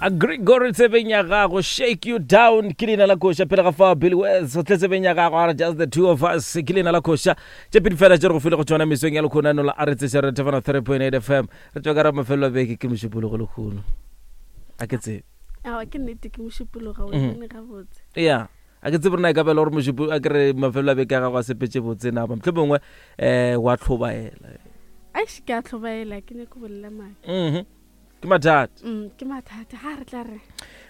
A Gregory tsebeng ya gago shake you down ke leina la koša pele ga fao Billy Wells o tle tsebeng ya gago a re just the two of us ke leina la koša tše pedi fela tše re go file go tšona mesong ya lekhonano la a re tseša re thefana 3.8 FM re tšwa ka ra mafelelo a beke ke mošupologo lekgono a ke tsebe Aowa ke nnete ke mošupologo o mhm. bone gabotse. Ya a ke tsebe rena e ka bela gore mošupo a kere mafelelo a beke a gago a sepetse botse na ba mohlomongwe um wa tlhobaela. Eish ke a tlhobaela ke nyako bolela maaka. Mhm. Ke mathata. Mm, ke mathata ga re tla re.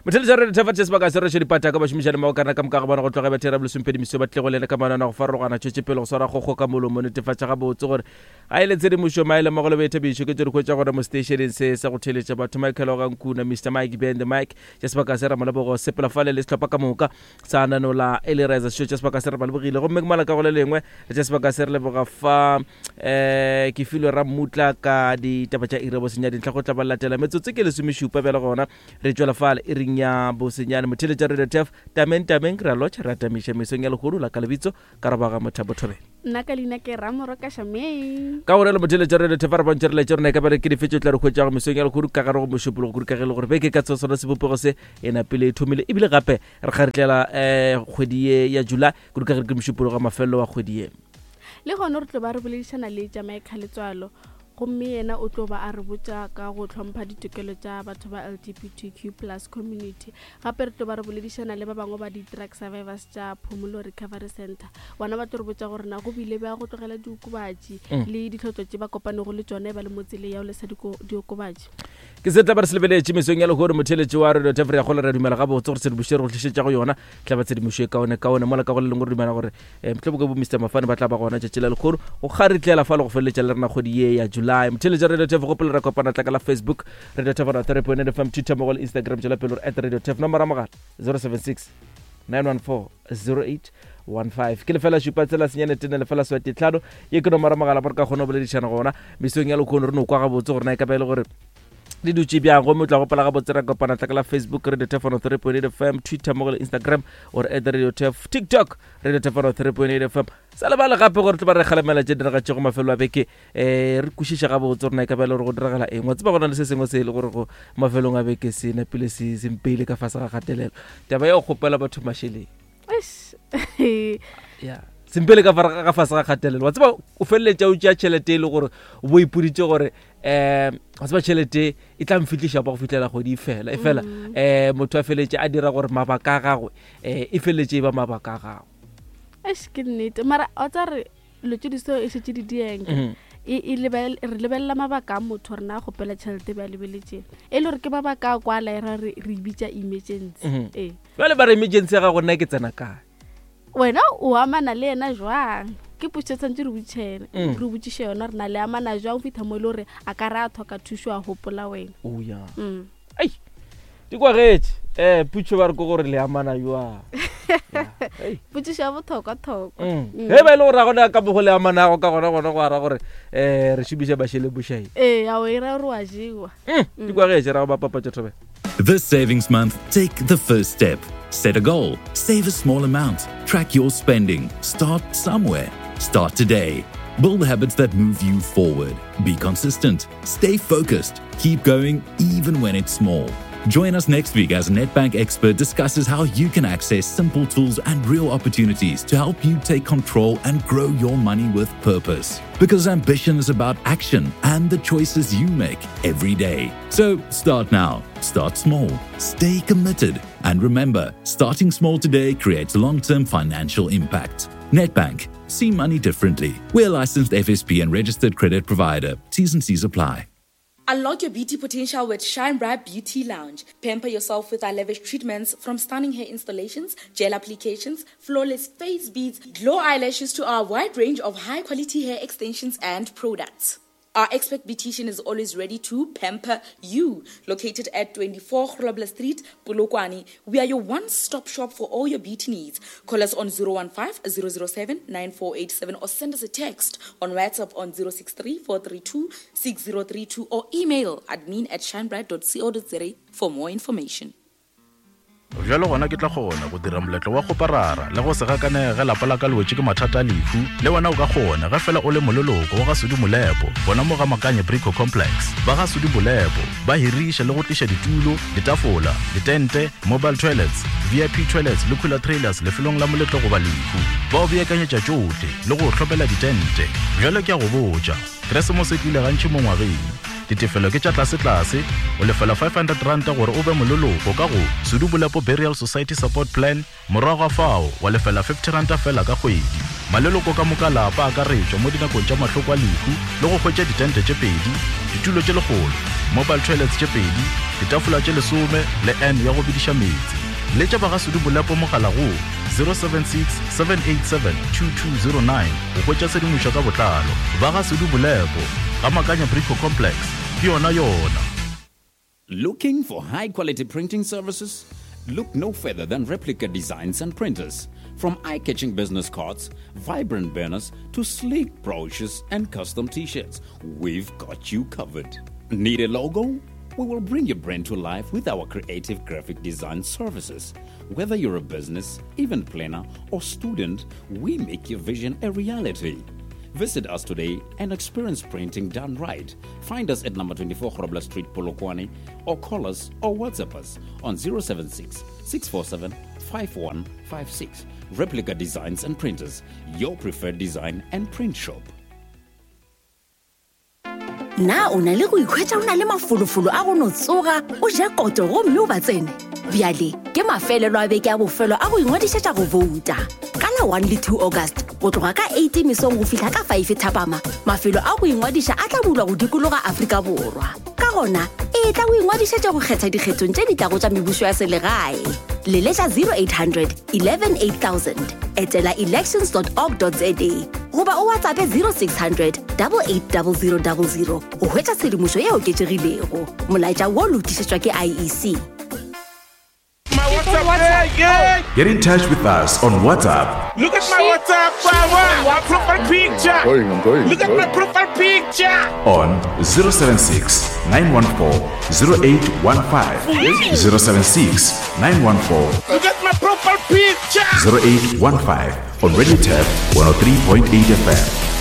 Motheletša re thefa tše sebaka se re dipata ka bašomišane mmogo kana ka moka ga bona go tloga bethera bolesomepedi meso ba tlile go lena ka manana go farologana tšwetše pele go swara kgokgo ka molomo netefatša gabotse gore ga e le tshedimošo maele mmogo le boithabišo ke tše di hwetša gona mo seteišeneng se sa go theletša batho Michael Ogankuna Mr Mike Ben the Mike tša sebaka se Ramolebogo sepela fale le sehlopha ka moka sa nanola e le reza sešo tša sebaka se re ba lebogile gomme ke mola ka go le lengwe re tša sebaka se re leboga fa um ke filwe rammutla ka ditaba tša iri ya bosenyane dintlha go tla ba latela metsotso ke lesomešupa bjale gona re tšwela fale iring ya bosenyane motheletša radio tef tameng tameng re a lotšha re atamiša mesong ya lehono la ka lebitso ka robaga mothabo thobela nna ka leina ke ramoro ka shameng ka gore le motheletša radio tef a re bontšhe re laetše rona e ka ba ke dife tše tla re hwetšago mesong ya lehono ka gare go mošupologo kudu ka ge e le gore beke ka sona sebopego se e napile e thomile ebile gape re kgaretlela um kgwedi ye ya july kudu ka ge ke mošupologo wa mafelelo wa kgwedi ye le gona re tlo ba re boledišana le Jamaica Letswalo gomme yena o tlo ba a re botša ka go hlompha ditokelo tša batho ba LGBTQ plus community. Gape re tlo ba re boledišana le ba bangwe ba di-drug survivors tša Phomolo Recovery Center. Bona ba tlo re botša gore na go bile bja go tlogela diokobatši mm. le ditlhotlo tše ba kopanego le tšone ba le mo tseleng ya go lesa diokobatši. Ke se tla ba re se lebeletše mesong ya lehono motheletši wa radio tef re ya kgole re dumela gabotse gore tshedimošo e re go tlišetša go yona tla ba tshedimošo e kaone kaone mola ka go le lengwe re dumela gore um mohlomong ke bo mr mafane ba tla ba gona tšatši la lekgono go kgaritlela fa le go feleletša le rena kgwedi ye ya july motheletša radio tef gopolo re kopana tla ka la facebook radio tef ona 3.9 fm twitter mogo le instagram tšwela pele gore at radio tef nomoro ya mogala 076 914 0815 ke lefela šupa tsela senyane tene lefela swati tlhano ye ke nomoro ya mogala mo re ka kgona go boledišana gona mesong ya lekgono re no kwa gabotse gore na e ka ba e le gore di dutše bjang gomme o tla gopola gabotse ra kopana tla ka la facebook radio tef 3.8 fm twitter mo go le instagram or at radio tef tiktok radio tef 3.8 fm sa lebale gape gore tle ba re kgalemela tše diragatšego mafelo a beke um re kwešiša gabotse gore na e ka ba e le gore go diragala eng wa tseba go na le se sengwe se e le gore go mafelong a beke se napile se sempeile ka fase ga kgatelelo taba ya go kgopela batho mašeleng ya sempele ka ga fase ga kgatelelo wa tseba o feleletša o tšea tšhelete e le gore o bo ipoditše gore um wa tseba tšhelete e tla mfihliša pa go fihlela kgwedi e fela e fela um motho a feleletše a dira gore mabaka a gagwe um e feleletše e ba mabaka a gagwe eish ke nnete mara o tsa re dilo tse di so e šetše di dieng mm. e, e re lebelela mabaka a motho rena a kgopela tšhelete ba lebeletseng e le gore ke mabaka a kwala e ra re e bitša emergency mm-hmm. ee jale ba re emergency ya gago nna ke tsena kae wena o amana le yena jwang ke potso tshwanetse re botšhene mm. re botšiše yona re na le amana jwang fitlha mo e le gore a ka re a tlhoka thušo a gopola wena oh, yeah. mm. Ei, di kwagetše um putšo ba re ko gore le amana jwang potšišo ya bothokwa-thokwa mm. mm. ge ba e le gore a gona ka mogo le amanago ka gona gona go ara gore um re šomiša mašeleng bošae ee ao e ra gore wa jewa mm, di kwagetše ra go bapapatša thobela This savings month, take the first step. Set a goal, save a small amount, track your spending, start somewhere. Start today. Build habits that move you forward. Be consistent, stay focused, keep going even when it's small. Join us next week as Nedbank expert discusses how you can access simple tools and real opportunities to help you take control and grow your money with purpose. Because ambition is about action and the choices you make every day. So start now, start small, stay committed, and remember starting small today creates long term financial impact. Nedbank, see money differently. We're licensed FSP and registered credit provider. T's and C's apply. Unlock your beauty potential with Shine Bright Beauty Lounge. Pamper yourself with our lavish treatments from stunning hair installations, gel applications, flawless face beads, glow eyelashes to our wide range of high quality hair extensions and products. Our expert beautician is always ready to pamper you. Located at 24 Grobler Street, Polokwane, we are your one-stop shop for all your beauty needs. Call us on 015 007 9487 or send us a text on WhatsApp on 063 432 6032 or email admin at shinebright.co.za for more information. Bjalo gona ke tla kgona go dira moletlo wa kgoparara le go se gakanege ge lapa la ka le wetše ke mathata a lehu. Le wena o ka kgona ge fela o le moleloko wa ga Sudi Molepo gona mo ga Makanye Brico Complex. Ba ga Sudi Molepo ba hiriša le go tliša ditulo, ditafola, ditente, mobile toilets, VIP toilets le cooler trailers lefelong la moletlo goba lehu. Ba o beakanyetša tšohle le go o hlopela ditente. Bjalo ke a go botša, Keresemose e tlile gantši mo ngwageng. Ditefelo ke tša tlasetlase, o lefela R500 gore o be moleloko ka go Sudu Bolepo Burial Society Support Plan, morago ga fao wa lefela R50 feela ka kgwedi. Maleloko ka moka lapa a akaretšwa mo dinakong tša mahloko a lehu le go hwetša ditente tše pedi, ditulo tše lekgolo, mobile toilets tše pedi, ditafola tše lesome le urn ya go bediša meetse. Letša ba ga Sudu Bolepo mogala go 076 787 2209 go hwetša tshedimošo ka botlalo. Ba ga Sudu Bolepo, ga Makanya Brico Complex, ke yona yona. Looking for high quality printing services? Look no further than Replica Designs and Printers. From eye catching business cards, vibrant banners, to sleek brochures and custom t shirts, we've got you covered. Need a logo? We will bring your brand to life with our creative graphic design services. Whether you're a business, event planner, or student, we make your vision a reality. Visit us today and experience printing done right. Find us at number 24 Grobler Street, Polokwane, or call us or WhatsApp us on 076 647 5156. Replica Designs and Printers, your preferred design and print shop. Na o na le go ikhwetša o na le mafolofolo a go no tsoga o ja koto gomme o ba tsene? Bjale ke mafelelo a beke a bofelo a go ingwadišetša go bouta. Ka la 1 le 2 August go tloga ka 8 mesong go fihla ka 5 thapama, mafelo a go ingwadiša a tla bulwa go dikologa Afrika Borwa. Ka gona, etla o ingwadišetše go kgetha dikgethong tše di tlago tša mebušo ya selegae. Leletša 0800 11 8000, etela elections.org.za goba o WhatsAppe 0600 880000 go hwetša tshedimošo e oketšegilego. Molaetša wo lotišetšwa ke IEC. Get in touch with us on WhatsApp. Look at my WhatsApp, my profile picture. I'm going, I'm going, Look at my profile picture. On 076 914 0815. 076 914. Look at my profile picture. 0815 on Radio Tap 103.8 FM.